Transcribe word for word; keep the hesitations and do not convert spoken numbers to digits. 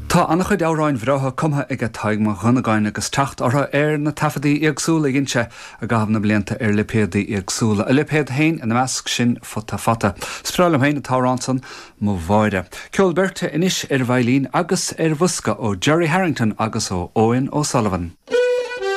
Tá an-chuid amhráin bhreátha cumtha ag Tadhg Mac Dhonnagáin agus teacht orthu ar na taifeadaí éagsúla a dhein sé i gcaitheamh na mblianta ar lipéadaí éagsúla. A lipéad féin ina measc sin Futa Fata. Is breá liom féin an t-amhrán san Mo Mháire. Ceol beirte anois ar veidhlín agus ar bhosca ó Jerry Harrington agus ó Eoin O'Sullivan.